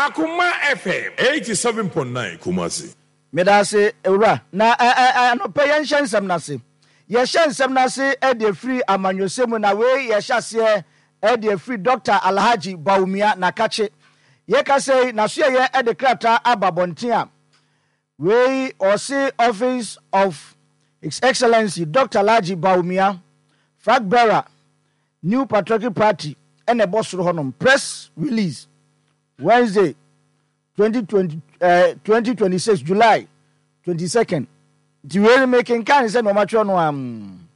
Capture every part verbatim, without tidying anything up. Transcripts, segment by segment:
Akoma F M eighty-seven point nine Kumasi. Meda ase, ewura. Na anɔpɛ yɛnhyɛ nsɛm no ase. Yɛhyɛ nsɛm no ase de afiri amanyɔsɛm mu, na wei yɛhyɛ aseɛ de afiri Doctor Alhaji Bawumia Nakakye. Yɛka sɛ n'asoɛyɛ de krataa aba abɔnten a wei ɔse, "Office of His Excellency Doctor Alhaji Bawumia, flag bearer, New Patriotic Party," ɛna ɛbɔ soro hɔnom, "Press release, Wednesday twenty twenty, uh, twenty twenty-six July twenty-second." Nti wei no mekenkan sɛ nneɛma twerɛ no am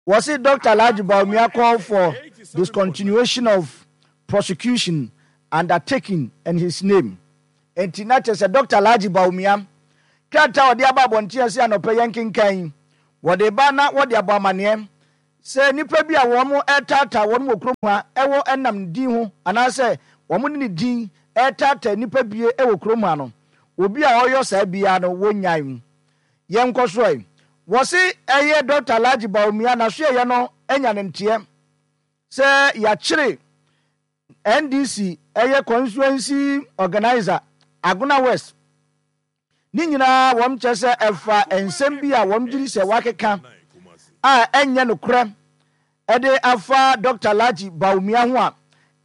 wɔse, "Doctor Alhaji Bawumia call for discontinuation of prosecution undertaking in his name." Nti na kyerɛ sɛ Doctor Alhaji Bawumia krataa a ɔde aba abɔnten ase anɔpɛ yɛn kenkan, wɔde ba na wɔde abɔ amanneɛ sɛ nnipa bi a wɔn ɛtaataa wɔn wɔ kurom ha ɛwɔ ɛnam ne din ho anaasɛ wɔn de ne din ɛtaataa nnipa bie ɛwɔ kurom ha no, obi a ɔyɔ saa biara no, wɔnyae mu. Yɛn nkɔ so yi, wɔsi ɛyɛ Doctor Alhaji Bawumia n'asoɛyɛ no anya ne nteɛ sɛ yɛakyere N D C ɛyɛ constituency organizer Agona West. Ne nyinaa wɔn kyerɛ sɛ ɛfa nsɛm bi a wɔn gyiri sɛ wakeka a ɛnyɛ nokorɛ ɛde afa Doctor Alhaji Bawumia ho a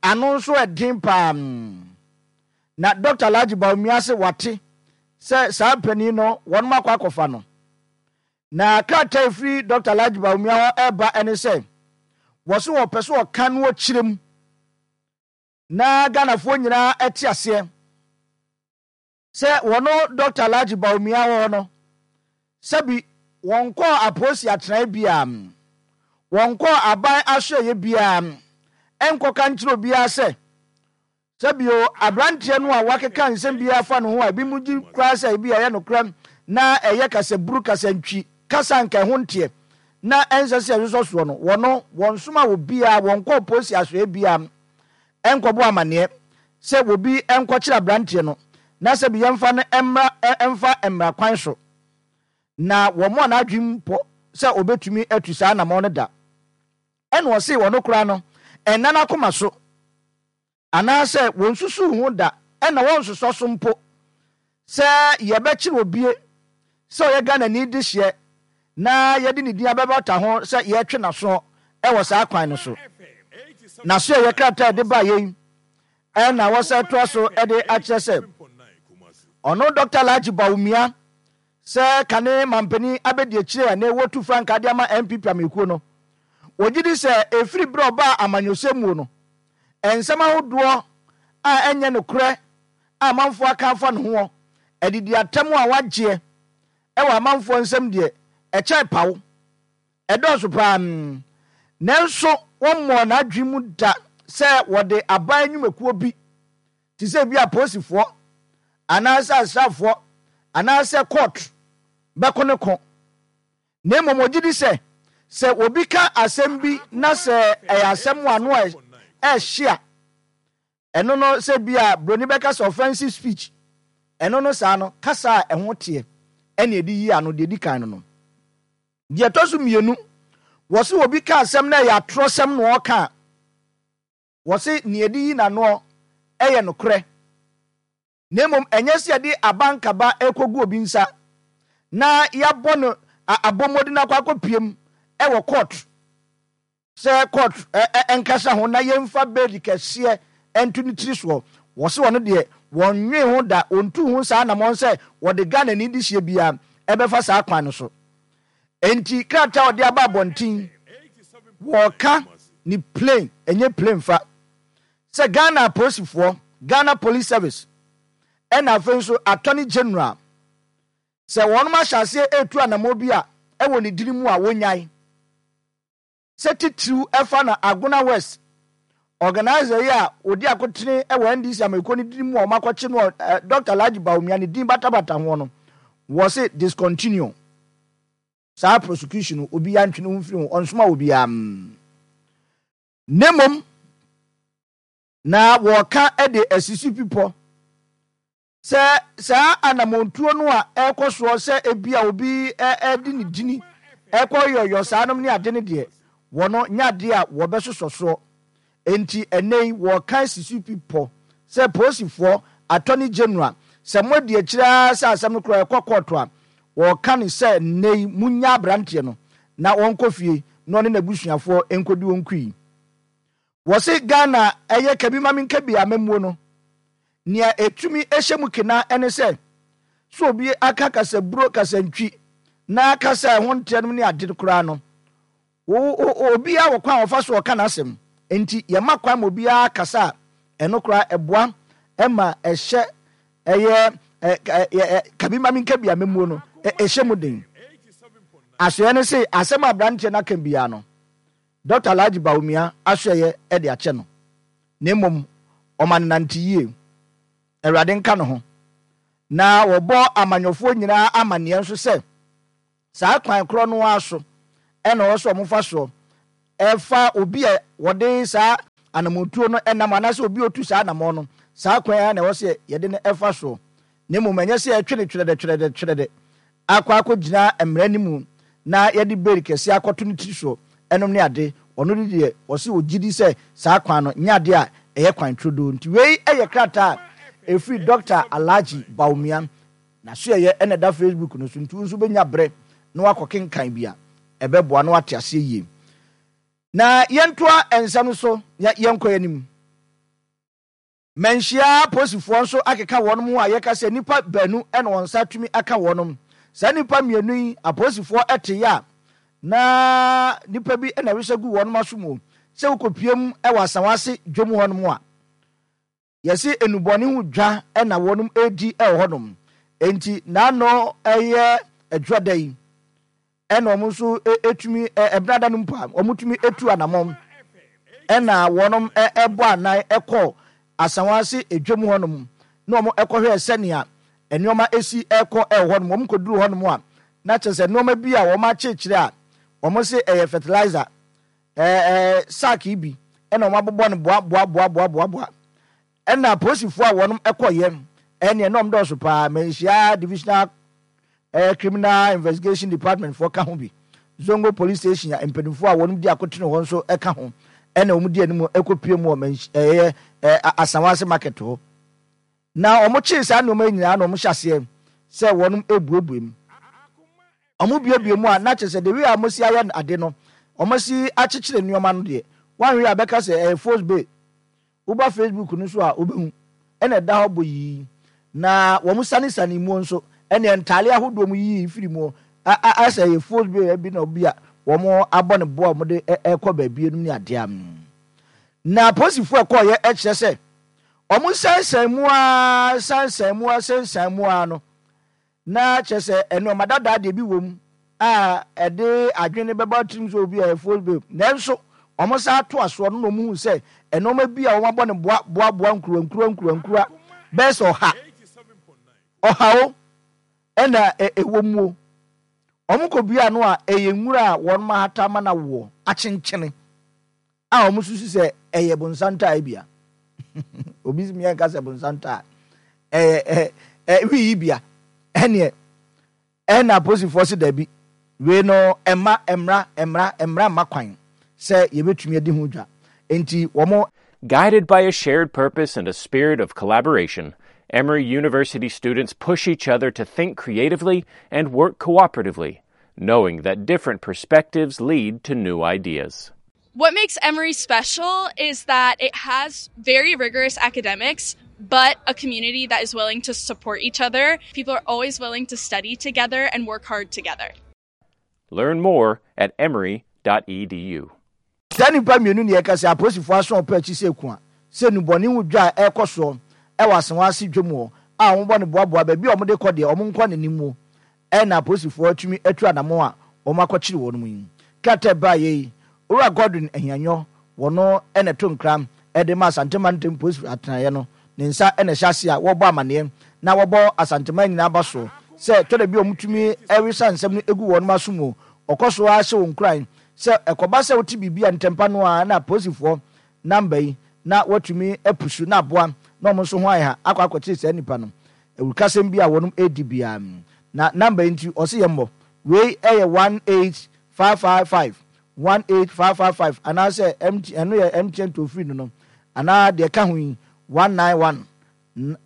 ano nso ɛden paa. Na Doctor Alhaji Bawumia se wate sɛ saa panin no wɔn akɔ akɔfa no. Na krataa efiri Doctor Alhaji Bawumia hɔ ɛreba ɛne sɛ wɔso wɔpɛ so wɔka no wɔkyerɛ mu na Ghanafoɔ nyinaa ɛte aseɛ sɛ wɔno Doctor Alhaji Bawumia wɔ hɔ no, sɛbi wɔn kɔɔ apolisi atenae biara, wɔn kɔɔ aban asoɛyɛ biara, ɛnkɔka nkyerɛ obiara sɛ sɛbio aberanteɛ no a wakeka nsɛm biara fa ne ho a ebi mu gye koraa sɛ ebi ɛyɛ nokorɛ na ɛyɛ kasaburu, kasantwi, kasa nka ɛho nteɛ na ɛnsɛ sɛ ɛsosɔ soɔ no, wɔno wɔn soma wɔ biara, wɔn kɔɔ polisi asoɛ biara ɛnkɔbɔ amanneɛ sɛ obi ɛnkɔkyerɛ aberanteɛ no na sɛbi yɛmfa no mmra, ɛmfa mmara kwan so, na wɔn a n'adwene mpɔ sɛ obetumi atu saa anamɔ no da. Ɛna ɔse wɔn koraa no ɛnna n'akoma so anaasɛ wɔn susu ho da, ɛna wɔn nsosɔ so mpo sɛ yɛbɛkyerɛ obie sɛ ɔyɛ Ghanani de hyeɛ na yɛde ne din abɛbata ho sɛ yɛtwe n'aso ɛwɔ saa kwan no so. N'aso yɛ krataa yɛde ba yɛn ɛna wɔsɛ toa so ɛde akyerɛ sɛ ɔno Doctor Alhaji Bawumia sɛ kane mampanin abɛdi akyire a na wɔtu frankaa de ama N P P amekuo no, wɔgye di sɛ ɛfiri berɛ ɔbaa amanyɔsɛm mu no, nsɛm ahodoɔ a ɛnyɛ nokorɛ a amanfoɔ aka afa ne ho, adidi atam a wagyeɛ ɛwɔ amanfoɔ nsɛm deɛ, ɛkyɛn paw, ɛdɔɔso paa. Nanso wɔmmɔɔ n'adwene mu da sɛ wɔde aban nnwumakuo bi te sɛ bi apolisifoɔ anaasɛ asraafoɔ anaasɛ court bɛko ne ko, na mmom ogye di sɛ sɛ obi ka asɛm bi na sɛ ɛyɛ asɛm ano a ɛhye a, ɛno no sɛ bi a broni bɛka sɛ offensive speech, ɛno no saa no kasa a ɛho teɛ ɛna ɛde yi ano. Deɛ di kan no no deɛ ɛtɔ so mmienu, wɔsi obi ka asɛm na ɛyɛ atorɔsɛm na ɔka a, wɔsi nea ɛde yi n'anoɔ ɛyɛ nokorɛ, na mmom ɛnyɛ sɛ yɛde abankaba ɛkɔgu obi nsa na yɛabɔ no abɔmmɔden akɔ akɔpiem ɛwɔ court sɛ court ɛnkasa ho na yɛmfa bail kɛseɛ ɛnto ne tiri soɔ. Wɔsi wɔn deɛ, wɔnwe ho da, wɔntu ho saa anamɔn sɛ wɔde Ghana ni de hyia biara ɛbɛfa saa kwan no so. Nti krataa a ɔde aba abɔnten, wɔɔka ne plain, ɛnyɛ plain fa sɛ Ghana apolisifoɔ, Ghana Police Service, ɛna afei nso Attorney General, sɛ wɔn ahyɛ aseɛ etu anamɔ bi a ɛwɔ ne dini mu a, wɔnyae sɛ titiriw ɛfa na Agona West organizer yi a odi akotene ɛwɔ N D C amekuo ne dini mu a wɔn akɔkye no, ɛ Doctor Alhaji Bawumia ne din batabata ho no, wɔsi discontinue saa prosecution no. Obi antwe ne ho mfiri ho, ɔnsoma obiara. Ne mmom na wɔka de asisi pipɔ sɛ saa anamontuo no a ɛrekɔ soɔ sɛ ebi a obi ɛde ne dini ɛkɔ yɔyɔ saa nom ne ade ne deɛ, wɔno nyɛ adeɛ a wɔbɛsosɔ soɔ. Nti ɛnɛ yi wɔka asisi pipɔ sɛ polisifoɔ, Attorney General, sɛ moadi akyire ara sɛ asɛm no koraa ɛkɔ kɔɔto a, wɔka no sɛ nnɛ yi monnya aberanteɛ no na ɔnkɔ fie na ɔne n'abusuafoɔ nkɔdi wɔn kui. Wɔse Ghana ɛyɛ kabi ma menka bi amammuo no, nea ɛtumi hyɛ mu kena ne sɛ, sɛ obi aka kasaburo, kasantwi, na kasa a ɛho nteɛ nom ne ade koraa no, obiara wɔ kwan a ɔfa so ɔka n'asɛm. Enti yɛma kwan ma obiara kasa a, ɛno koraa ɛboa ma ɛhyɛ ɛyɛ kabi ma menka bi amammuo no ɛhyɛ mu den. Asoɛeɛ no se asɛm a aberanteɛ no aka biara no, Dɔkta Alhaji Bawumia asoɛeɛ de akyɛ no, na mmom ɔma no nante yie. Awurade nka ne ho. Na wɔbɔ amanyɔfoɔ nyinaa amanneɛ nso sɛ saa kwan korɔ no ara so na ɛwɔ sɛ wɔfa soɔ fa obi a wɔde saa anammɔntuo no nam anaasɛ obi a ɔtu saa anammɔn no, saa kwan ara na ɛwɔ sɛ yɛde no fa soɔ, na mmom ɛnyɛ sɛ yɛtwe no twerɛdɛ twerɛdɛ twerɛdɛ akɔ akɔgyina mmara no mu na yɛde bail kɛseɛ akɔto ne tiri soɔ nom ne ade. Ɔno de deɛ ɔse ɔgye di sɛ saa kwan no nyɛ adeɛ a ɛyɛ kwan turodoo. Nti wei yɛ krataa a ɛfiri Dɔkta Alhaji Bawumia n'asoɛeɛ na ɛda Facebook no so nti wo nso wobɛnya berɛ na woakɔkenkan bi a ɛbɛboa na woate aseɛ yie. Na yɛntoa nsɛm no so na yɛnkɔ yɛn anim. Manhyia apolisifoɔ nso akeka wɔnom ho a yɛka sɛ nnipa baanu na wɔn nsa atumi aka wɔnom. Saa nnipa mmienu yi apolisifoɔ teeɛ a na nnipa bi na ɛresa gu wɔnom aso mu sɛ wokɔpiem wɔ Asawase dwom hɔnom a yɛse nnubɔne ho dwa na wɔnom redi wɔ hɔnom. Enti n'ano yɛ adwuada yi ɛna wɔn nso tumi ɛbenada no mpo a wɔtumi tu anamɔn ɛna wɔn ɛbɔ anan ɛkɔ Asawase edwam hɔnom na wɔn ɛkɔhwɛ sɛnea nneɛma esi ɛkɔ ɛwɔ hɔnom. Wɔn kɔduru hɔnom a na kyerɛ sɛ nneɛma bi a wɔn akyekyere a wɔn se ɛyɛ fertilizer ɛɛ ɛɛ sack yi bi ɛna wɔn abobɔ no boa boa boa boa boa boa. Ɛna apolisifoɔ a wɔn ɛkɔyɛ ɛneɛ na wɔn dɔɔso paa. Manhyia Divisional Ɛyɛ Criminal Investigation Department foɔ ka ho bi. Zongo Police Station a mpanimfoɔ a wɔn di akotene hɔ nso ka ho ɛna wɔn di anim kɔ pue mu wɔ Manhy ɛyɛ Asawase market hɔ. Na wɔn kyee saa nneɛma yi nyinaa na wɔn hyɛ aseɛ sɛ wɔn rebuebue mu. Wɔn buebue mu a na kyerɛ sɛ the way a wɔn si ayɛ ade no, wɔn si akyekyere nneɛma no deɛ, wɔanhwɛ a bɛka sɛ ɛyɛ force bay. Woba Facebook no so a wobɛhu, ɛna ɛda hɔ boyii. Na wɔn sanesane muo nso, ɛneɛ ntaale ahodoɔ mu yiyi firi muo, a a ayɛ sɛ ɛyɛ fos bi bi na obi a wɔn abɔ ne bo a wɔn de ɛrekɔ baabi nom ne adeɛ a. Na apolisifoɔ ɛkɔɔyɛ ɛkyerɛ sɛ wɔn sansan mu ara sansan mu ara sansan mu ara no, Na kyerɛ sɛ nnoɔma dadaa deɛ bi wom a ɛde adwene bɛba tirim sɛ obi a ɛyɛ false babe. Nanso wɔsan toa soɔ no na wɔhuu sɛ nnoɔma bi a wɔabɔ no boa boa boa nkuruwa nkuruwa nkuruwa nkuruwa bɛyɛ sɛ ɔha ɔha o ɛna ɛwɔ muo. Wɔkɔbua ano a ɛyɛ nwura a wɔn ahata ama no awoɔ akyenkyene. A wɔsusu sɛ ɛyɛ bonsantaa bia. Obi si yɛn ka sɛ bonsantaa ɛyɛ ɛ ɛ wi yi bia ɛneɛ ɛna apolisifoɔ si dabi wei no ɛma mmra mmra mmra mma kwan sɛ yɛbɛtumi adi ho dwa nti wɔn. Guided by a shared purpose and a spirit of collaboration, Emory University students push each other to think creatively and work cooperatively, knowing that different perspectives lead to new ideas. What makes Emory special is that it has very rigorous academics, but a community that is willing to support each other. People are always willing to study together and work hard together. Learn more at emory dot e d u. Saa nnipa mmienu ne yɛka sɛ apolisifoɔ aso ɔpɛ akyi sɛ ku a sɛ nnubɔne ho dwa a ɛrekɔ soɔ wɔ Asawase dwam hɔ a wɔbɔ no boaboa baabi a wɔde kɔ deɛ wɔn nkɔ n'anim mu na apolisifoɔ atumi atu anamɔn a wɔakɔkyere wɔn yi. Krataa a ɛbaeɛ yi, Owura Godwin Ahianyɔ, wɔno na ɛto nkra de ma Asante Mantam Polisi Atenaeɛ no, ne nsa na ɛhyɛ aseɛ a wɔrebɔ amaneɛ na wɔbɔ Asanteman nyinaa aba soɔ sɛ ɛtɔ da bi a wɔtumi wesa nsɛm no gu wɔn aso mu. Ɔkɔ so ara hyɛ wɔn nkuran sɛ ɛkɔba sɛ wote biribi a ntɛmpa no ara na apolisifoɔ namba yi na wɔatumi apusu na aboa na wɔn nso ho ayɛ ha akɔ akɔkyere saa nnipa no. Awurukasɛm bi a wɔnom redi biara na namba yi nti ɔse yɛmmɔ. Wei yɛ one eight five five five, one eight five five five anaasɛ M T, ɛno yɛ M T N toll free no no anaa deɛ ɛka ho yi one nine one,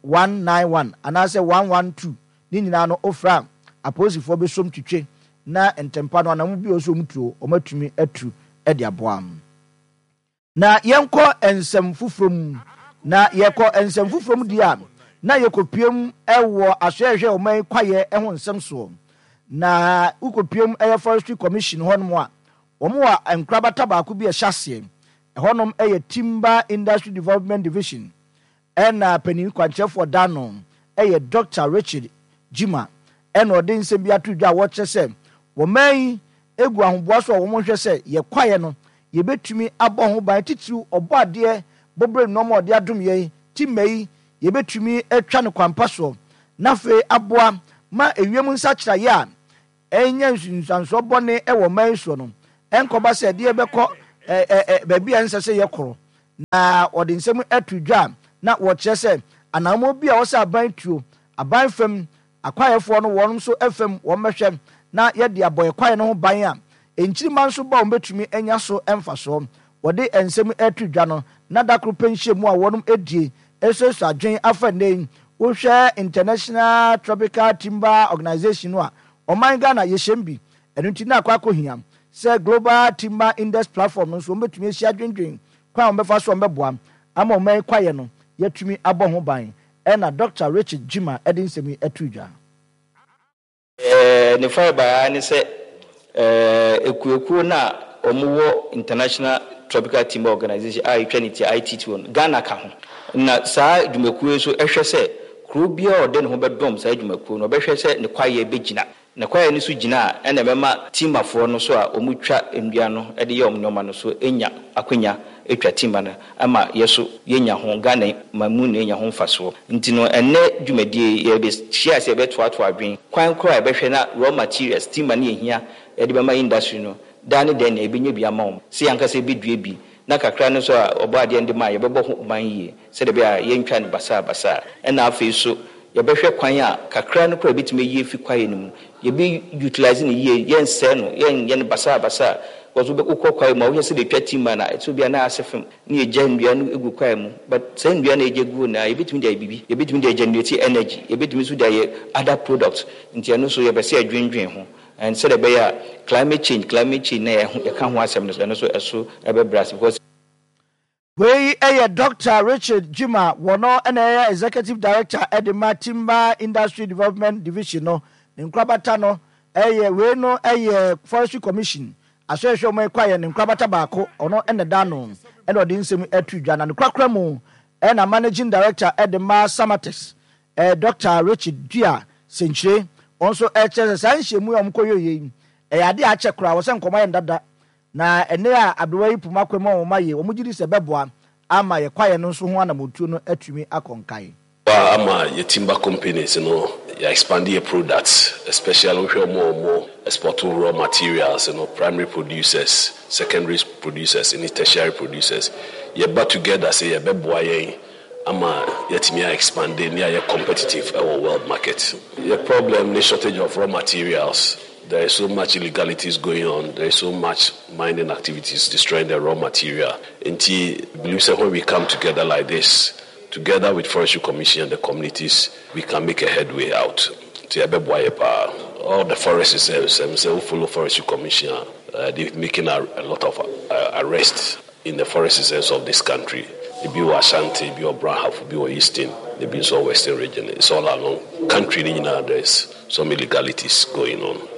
one nine one anaasɛ one one two ne nyinaa no wofrɛ a apolisifoɔ bɛsom twitwe na ntɛmpa no anamu bi a ɔsɛ wɔn tuo wɔn atumi atu de aboa. Na yɛnkɔ nsɛm foforɔ mu. Na yɛkɔ nsɛm foforɔ mu deɛ a, na yɛkɔpiem wɔ asoɛhwɛ ɔman kwaeɛ ho nsɛm soɔ. Na wokɔpiem ɛyɛ Forestry Commission hɔnom a, wɔn wɔ nkorabata baako bi a ɛhyɛ aseɛ. Ɛhɔnom yɛ Timber Industry Development Division. Ɛna panin kwankyerɛfoɔ da no yɛ Doctor Richard Gyimah. Ɛna ɔde nsɛm bi ato dwa a wɔkyerɛ sɛ wɔman yi egu ahoboa so a wɔhwɛ sɛ yɛ kwaeɛ no yɛbɛtumi abɔ ho ban, titiriw ɔbɔ adeɛ bɔberɛ nneɛma a ɔde adom yɛn timma yi yɛbɛtumi atwa no kwampa soɔ na afei aboa ma ewiem nsakyeraeɛ a ɛnyɛ nsunsuansoɔ bɔne wɔ ɔman yi soɔ no ɛnkɔba sɛ ɛdeɛ bɛkɔ ɛ ɛ baabi a ɛnsɛ sɛ yɛkorɔ. Na wɔde nsɛm ato dwa na wɔkyerɛ sɛ anammɔn bi a wɔsɛ aban tuo aban fam akwaeɛfoɔ no wɔn nso fam wɔn bɛhwɛ na yɛde abɔ yɛ kwaeɛ no ho ban a nkyirima nso ba wɔn bɛtumi anya so mfasoɔ. Wɔde nsɛm ato dwa no na dakoro pɛ nhyiamu a wɔn adie esuasua adwen afa nne yi wohwɛ International Tropical Timber Organization no a ɔman Ghana yɛhyɛm bi. Ɛno nti na akɔ akɔhia sɛ Global Timber Index Platform no nso wɔn bɛtumi ahyia adwendwen kwan a wɔbɛfa so wɔn bɛboa ama ɔman kwaeɛ no yɛtumi abɔ ho ban. Ɛna Doctor Richard Gyimah ɛde nsɛm yi ato dwa. Eh, ne farebae ne sɛ eh, ekuokuo no a wɔwɔ International Tropical Timber Organization a ɛtwa ne ti I T T O no, Ghana ka ho. Na saa dwumakuo yi nso hwɛ sɛ kuro biara a ɔde ne ho bɛdɔm saa dwumakuo no, ɔbɛhwɛ sɛ ne kwaeɛ bɛgyina. Ne kwaeɛ no so gyina a, ɛna ɛbɛma timberfoɔ no so a wɔtwa nnua no de yɛ wɔn nneɛma no so nya akwanya atwa timber no ama yɛ so yɛnya ho, Ghana man mu na yɛnya ho mfasoɔ. Nti no ɛnnɛ dwumadie yi yɛbɛhyia sɛ yɛbɛtoatoa adwene kwan koraa a yɛbɛhwɛ na raw materials timber no yɛhia yɛde bɛma industry no daa ne dɛn na yɛbɛnya bi ama wɔn sɛ yɛn ankasa yɛbɛdua bi na kakra no so a ɔbɔ adeɛ no de ma a yɛbɛbɔ ho ban yie sɛdeɛ ɛbɛyɛ a yɛntwa no basaa basaa. Ɛna afei so yɛbɛhwɛ kwan a kakra no koraa yɛbɛtumi ayi afi kwaeɛ no mu, yɛbɛ utilize no yie, yɛnsɛe no, yɛnyɛ no basaa basaa. Because wokɔ kwaeɛ mu a wohwɛ sɛ deɛ ɛtwa timber na ɛsɛ obi a na ase fam na yɛgya nnua no gu kwaeɛ mu, but saa nnua no yɛgya gu na yɛbɛtumi de ayɛ biribi, yɛbɛtumi de generate energy, yɛbɛtumi nso de ayɛ other products. Nti ɛno nso yɛbɛ sɛ yɛdwendwen ho and sɛdeɛ ɛbɛyɛ a climate change, climate change na yɛka ho asɛm no, ɛno nso ɛso ɛbɛbrɛ ase because wei ɛyɛ Doctor Richard Gyimah, wɔno ɛna ɛyɛ Executive Director ɛde ma Timber Industry Development Division no. Ne nkorabata no ɛyɛ wei no ɛyɛ Forestry Commission asɔhwɛ wɔn kwaeɛ ne nkorabata baako, ɔno ɛna da no ɛna ɔde nsɛm ɛto dwa. Na ne korakora mu ɛna Managing Director ɛde ma Samatex ɛɛ Doctor Richard Dua Senkyire, wɔn nso ɛkyerɛ sɛ saa nhyiamu a wɔn kɔ yɛ yi ɛyɛ adeɛ a akyɛ koraa, wɔsɛ nkɔmɔ yɛ ndada na ɛnɛ a aberewa yi poma kwan mu a wɔn ayɛ wɔn gye di sɛ bɛboa ama yɛ kwaeɛ no nso ho anamotuo no atumi akɔ nkae. Ama yɛ timber companies no yɛ expand yɛ products, especially wohwɛ ɔmo a ɔmo export raw materials no, primary producers, secondary producers ne tertiary producers, yɛba together sɛ yɛbɛboa yɛn ama yɛtumi a expand ne ayɛ competitive ɛwɔ world market. Yɛ problem ne shortage of raw materials. There is so much illegalities going on. There is so much mining activities destroying the raw material. Nti believe sɛ when we come together like this, together with Forestry Commission and the communities, we can make a headway out. Nti ɛbɛboa yɛ paa. All the forest reserves, ɛm sɛ wo follow Forestry Commission a, uh, they're making a, a lot of uh, arrests in the forest reserves of this country. Ebi wɔ Ashanti, ebi wɔ Brong Ahafo, ebi wɔ Eastern, ebi nso wɔ Western region. It's all along country ni nyinaa there is some illegalities going on.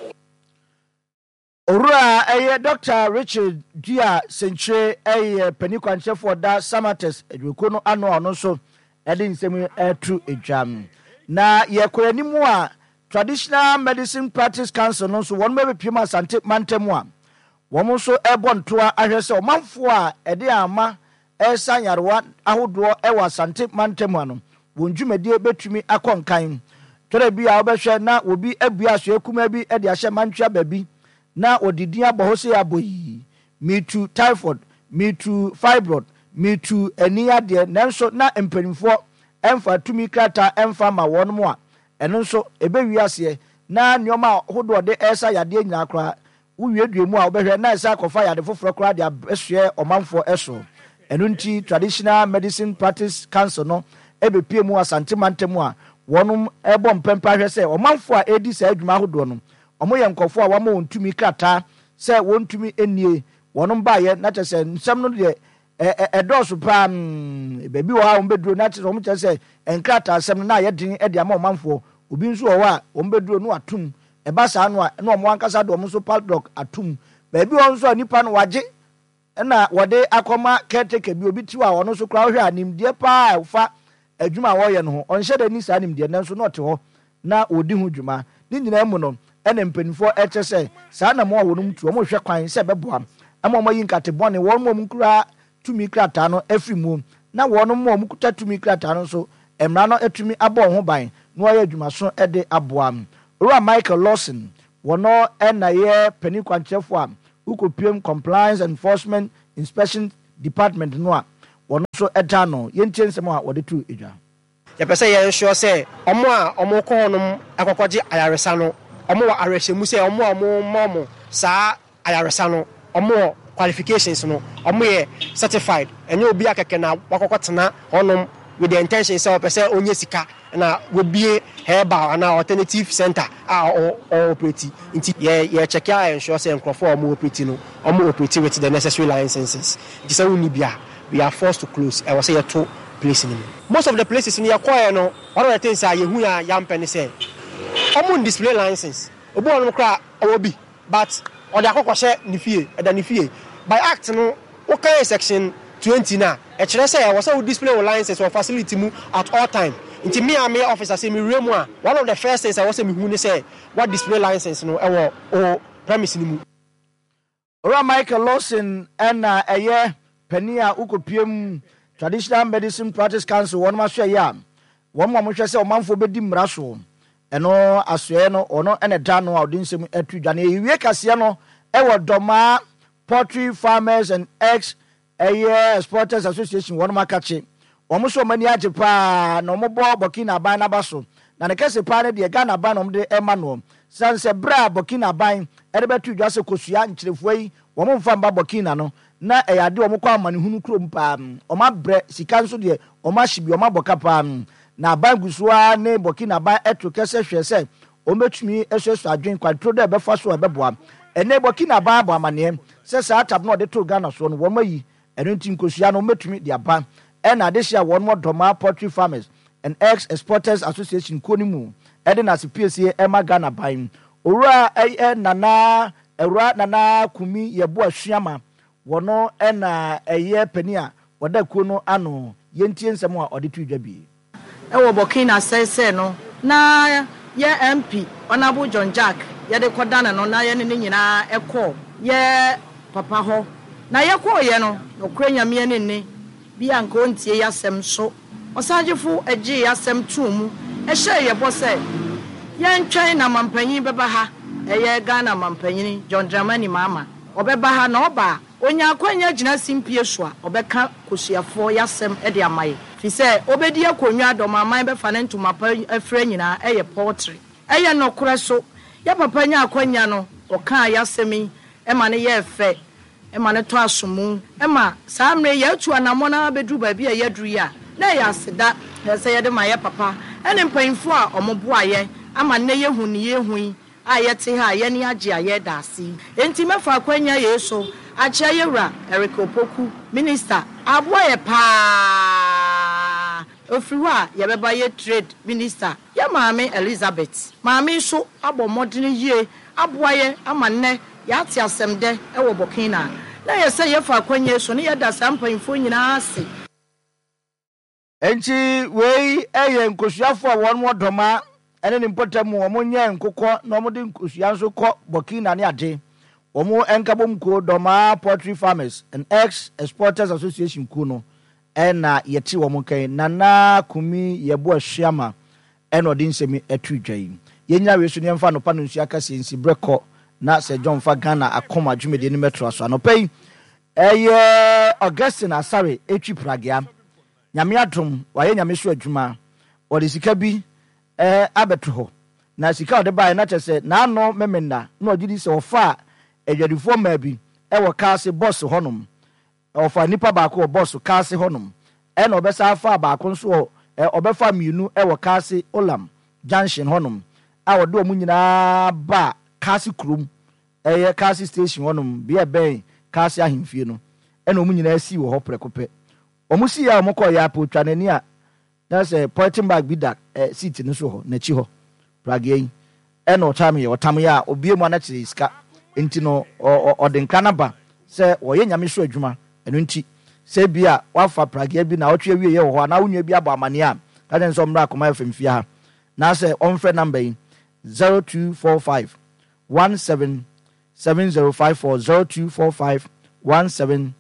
Owura ɛyɛ Doctor Richard Dua Senkyire ɛyɛ panin kwankyerɛfoɔ da Samatex adwumakuo no ano a ɔno nso ɛde nsɛm ɛto dwa. Na yɛkɔ anim a Traditional Medicine Practice Council no nso wɔn bɛbɛpiem Asante mantam a wɔn nso ɛbɔ ntoa ahwɛ sɛ ɔmanfoɔ a ɛde ama ɛsa nyarewa ahodoɔ ɛwɔ Asante mantam ano wɔn dwumadie bɛtumi akɔ nkan. Tɔrɔ bi a wɔbɛhwɛ na obi abua asoɛ kumaa bi ɛde ahyɛ mantwea baabi na wɔde din abɔ hɔ sɛ abɔ yi mitu typhoid, mitu fibroid, mitu ani adeɛ, nanso na mpanimfoɔ ɛmfa tumi krataa ɛmfa ma wɔn mu a ɛno nso ɛbɛwie aseɛ na nneɛma ahodoɔ de ɛresa yadeɛ nyinaa koraa wowiedue mu a wobɛhwɛ na ɛsɛ akɔfa yade foforɔ koraa de abɛsoɛ ɔmanfoɔ ɛso. Ɛno nti Traditional Medicine Practice Council no ɛbɛpue mu Asante mantam a wɔnom ɛbɔ mpɛmpɛ ahwɛ sɛ ɔmanfoɔ a ɛredi saa adwuma ahodoɔ no wɔn yɛ nkurɔfoɔ a wɔama wɔn tumi krataa sɛ wɔntumi nnie. Wɔnom baeɛ na kyerɛ sɛ nsɛm no deɛ ɛdɔɔso paa. Baabi wɔ hɔ a wɔn bɛduro na kyerɛ sɛ wɔn kyerɛ sɛ nkrataa asɛm no na ayɛ den de ama ɔmanfoɔ. Obi nso wɔ hɔ a wɔn bɛduro no atum, ɛba saa no a na wɔn ankasa de wɔn nso padlock atum. Baabi wɔ nso a nipa no wagye na wɔde akɔma caretaker bi, obi ti hɔ a ɔno nso koraa wohwɛ a nimdeɛ paa a ɛfa adwuma a wɔreyɛ no ho, ɔnhyɛ da ni saa nimdeɛ, nanso na ɔte hɔ na wɔdi ho dwuma. Ne nyinaa mu no ɛna mpanimfoɔ ɛkyɛ sɛ saa na mo a wɔnom tu wɔn hwɛ kwan sɛ ɛbɛboa ama wɔn ayi nkate bɔne wɔn mu a wɔn kura tumi krataa no afiri mu, na wɔn mu a wɔn kuta tumi krataa no nso mmara no atumi abɔ wɔn ho ban na wɔayɛ adwumaso de aboa. Owura Michael Lawson, wɔn ɛna yɛ panin kwankyerɛfoɔ a wokɔpiem Compliance Enforcement Inspection Department no a wɔn nso ɛda no. Yɛntie nsɛm a wɔde to edwa. Yɛpɛ sɛ yɛnsure sɛ ɔmo a ɔmo kɔ hɔnom akɔkɔgye ayaresa no, ɔmo wɔ awerɛhyɛmu sɛ ɔmo a ɔmo ma ɔmo saa ayaresa no, ɔmo wɔ qualifications no, ɔmo yɛ certified. Ɛnyɛ obi akɛkɛ na wakɔkɔ tena hɔnom with the intention sɛ ɔpɛ sɛ ɔnyɛ sika na wabie herbal anaa alternative center a ɔ ɔoperate. Nti yɛ yɛ check a ensure sɛ nkurɔfoɔ a ɔmo operate no, ɔmo operate with the necessary licenses. Nti sɛ wonni bi a, we are forced to close. Ɛwɔ sɛ yɛto place no mu. Most of the places no yɛkɔɛ no, one of the things a yɛhu a yɛampɛ ne sɛ ɔmo display license. Obi wɔ nom koraa ɔwɔ bi, but ɔde akɔkɔhyɛ ne fie, ɛda ne fie. By act no, wokan section twenty na ɛkyerɛ sɛ ɛwɔ sɛ wo display wo license wɔ facility mu at all time. Nti me a meyɛ officer, sɛ mewura mu a, one of the first things a ɛwɔ sɛ mehu ne sɛ wa display license no ɛwɔ o premise no mu. Owura Michael Lawson ɛna ɛyɛ panin a wokɔpie mu Traditional Medicine Practice Council wɔn asoɛyɛ a wɔn a wɔhwɛ sɛ ɔmanfoɔ bɛdi mmara soɔ, ɛno asoɛyɛ no ɔno ɛna da no a ɔde nsɛm atu dwa. Na yɛwie kaseɛ no ɛwɔ Dɔmaa Poultry Farmers and Eggs ɛyɛ Exporters Association, wɔn akakye wɔn nso wɔn ani agye paa na wɔn bɔ Burkina aban n'aba so, na ne kɛse paa no deɛ Ghana aban na wɔn de ɛma noɔ, san sɛ berɛ a Burkina aban ɛde bɛto dwa sɛ kosua nkyerɛfoɔ yi wɔn mfa mba Burkina no, na ɛyɛ adeɛ wɔn kɔ amanehunu kurom paa, wɔn abrɛ sika nso deɛ wɔn ahye bi, wɔn abɔ ka paa. Na aban gu so ara ne Burkina aban ɛto kɛsɛ hwɛ sɛ wɔn bɛtumi asuasua adwene kwanturo dɛ ɛbɛfa so a ɛbɛboa. Ɛnɛ Burkina aban abɔ amaneɛ sɛ saa tab no a ɔde too Ghana soɔ no wɔn ayi ɛno, nti nkosua no wɔn bɛtumi de aba. Ɛna adehyɛ a wɔn wɔ Dɔmaa Poultry Farmers and Eggs Exporters Association kuo no mu ɛde n'ase piesie ɛma Ghana ban, Owura ɛyɛ Nana Awura Nana Kumi Yɛboa Suama, wɔno ɛna ɛyɛ panin a wɔda kuo no ano. Yɛntie nsɛm a ɔde to dwa bi. Ɛwɔ Burkina sɛsɛ no na yɛ M P Honourable John Jack yɛde kɔdane no na yɛne ne nyinaa ɛkɔ yɛ papa hɔ, na yɛkɔɔyɛ no, nokorɛ Nyameɛ ne nne bi a nka ɔntie yɛ asɛm so. Ɔsagyefo agyee yɛ asɛm too mu, ɛhyɛɛ yɛ bɔ sɛ yɛntwɛn na mampanyin bɛba ha, ɛyɛ Ghana mampanyin John Dramani Mahama ɔbɛba ha, na ɔba a onya akwanya gyina simpie so a ɔbɛka kosuafoɔ yɛasɛm de ama yɛ, fi sɛ ɔbɛdi akonnwa dɔm bɛfa ne ntoma pa afira nyinaa ɛyɛ poultry. Ɛyɛ nɔkorɛ so yɛ papa nya akwanya no, ɔkaa yɛasɛm yi ɛma no yɛɛ fɛ, ɛma no tɔ asomu, ɛma saa mmerɛ yɛatu anammɔ no abɛduru baabi a yɛaduru yi a na ɛyɛ aseda na sɛ yɛde ma yɛ papa ɛne mpanyimfoɔ a ɔmo boa yɛ ama nnɛ yɛhu ne yɛhu yi a yɛte ha a yɛne agye a yɛda ase yi. Enti mɛfa akwanya yei so akyerɛ yɛwura Eric Opoku, minister aboa yɛ paa. Ofiri hɔ a yɛbɛba yɛ trade minister, yɛ maame Elizabeth. Maame nso abɔ mmɔdene yie aboa yɛ ama nnɛ yɛate asɛm dɛ ɛwɔ Burkina, na yɛ sɛ yɛfa akwanya so ne yɛda saa mpanyimfoɔ nyinaa ase. Nti wei ɛyɛ nkosuafoɔ a wɔn wɔ Dɔma ɛne ne mpɔtam mu, wɔn nyɛ nkokɔ na wɔn de nkosua nso kɔ Burkina ne ade. Wɔn nkabom kuo, Dɔma Poultry Farmers and Eggs Exporters Association kuo no, ɛna yɛte wɔn nkan. Nana Kumi Yɛbo Asuama ɛna ɔde nsɛm ɛto dwa yi. Yɛnyina wei so ne yɛmfa anɔpa no nsuo akɛseɛ nsi berɛ kɔ na sɛ John fa Ghana akɔma dwumadie no mɛtoa so. Anɔpa yi ɛyɛ Augustine Asare etwi pragea. Nyame adom, wayɛ Nyame so adwuma, ɔde sika bi ɛɛ abɛto hɔ, na sika a ɔde baeɛ na kyerɛ sɛ n'ano memenda na ɔgye di sɛ ɔfa a adwadifoɔ mmaa bi ɛwɔ kaase bɔs hɔnom. Ɔfa nipa baako wɔ bɔs Kaase hɔnom, ɛna ɔbɛsa afa baako nso wɔ ɔbɛfa mmienu wɔ Kaase Olam Junction hɔnom a wɔde wɔn nyinaa ba Kaase kurom, ɛyɛ Kaase Station hɔnom, bea ɛbɛn Kaase ahemfie no, ɛna wɔn nyinaa sii wɔ hɔ prɛko pɛ. Wɔn sii a wɔn kɔɔ yɛ apɛ otwa n'ani a na sɛ polythene bag bi da ɛ seat no so hɔ n'akyi hɔ, pragia yi ɛna ɔtam yɛ ɔtam yɛ a obie mu anakyerɛ sika. Nti no ɔde nkra naba sɛ wɔyɛ Nyame so adwuma. Ɛno nti sɛ bi a wafa pragia bi na ɔtwe awie yɛ wɔ hɔ anaa wo nua bi abɔ amanneɛ a, ka kyerɛ sɛ ɔmmra Akoma F M fie ha na sɛ ɔmfrɛ number yi, zero two four five one seven seven zero five four, zero two four five one seven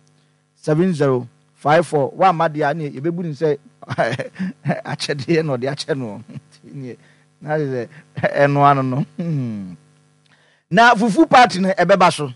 seven zero five four. Wamma deɛ a, ne yɛbɛbu ne sɛ akyɛdeɛ na ɔde akyɛ no na sɛ ɛno ano no. Na fufu party no ɛbɛba so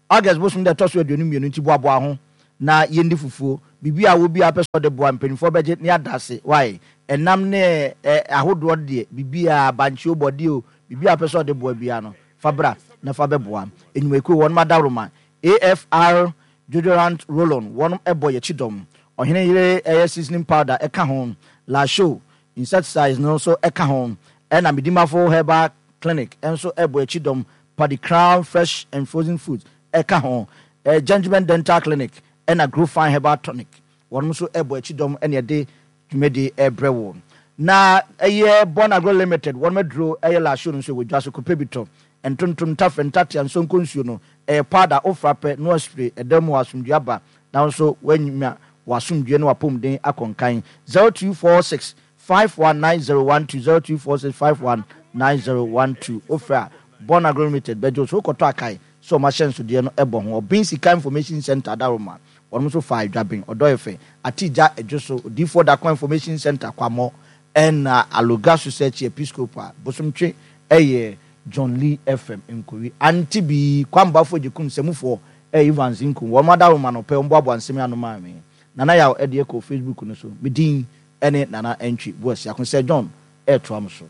August bosom dɛ ɛtɔ so aduonu mmienu, nti boaboa ho na yɛndi fufuo. Biribi a wobi apɛ sɛ ɔde boa, mpanimfoɔ bɛgye ne ada ase. Wae ɛnam ne ɛ ahodoɔ deɛ, biribi a bankye o, bɔdeɛ o, biribi a apɛ sɛ ɔde boa biara no, fa bra na fa bɛboa enyumakuo. Wɔn adaworoma A F R deodorant roll-on, wɔn ɛbɔ yɛkyi dɔm. Ɔhene Yere ɛyɛ seasoning powder ɛka ho, Lasho insecticides no nso ɛka ho, ɛna Medimafo Herbal Clinic nso ɛbɔ akyi dɔm. Paddy Crown Fresh and Frozen Foods ɛka ho, ɛ Gentleman Dental Clinic ɛna Grow Fine Herbal Tonic, wɔn nso ɛbɔ akyi dɔm, ɛna ɛde dwumadi ɛbrɛ wɔ. Na ɛyɛ Bon Agro Limited wɔn aduro ɛyɛ Lasho no nso ɛwɔ dwa so. Kɔpɛ bi tɔ. Ntontom, ntafɛ, ntatea, nsonko nsuo no ɛyɛ powder, ofra pɛ no spray ɛdan mu asomdwe aba na nso wanya w'asomdwe ne w'apɔmuden akɔnkan. zero two four six five one nine zero one two, zero two four six five one nine zero one two. Ofra Bon Agro Limited bɛgye so wokɔtɔ akae sɛ ɔmo ahyɛnsodeɛ no ɛbɔ ho. Ɔbɛn Sika Information Center adaroma, wɔn nso fa adwaben ɔdɔ efe atigya adwo so. Odiifoɔ Dako Information Center Kwamɔ, ɛna Aloga Research Episcopal Bosomtwe, ɛyɛ John Lee F M Nkowi ante bi kwambafo gyekum sɛmufoɔ ɛyɛ Evans Nkum. Wɔn adaroma no pɛ wɔn boaboa nsɛm ano maa mi Nana Yaw ɛde ɛkɔ Facebook no so. Me din ɛne Nana Ɛntwi Boasiako sɛ John ɛɛtoa mo so.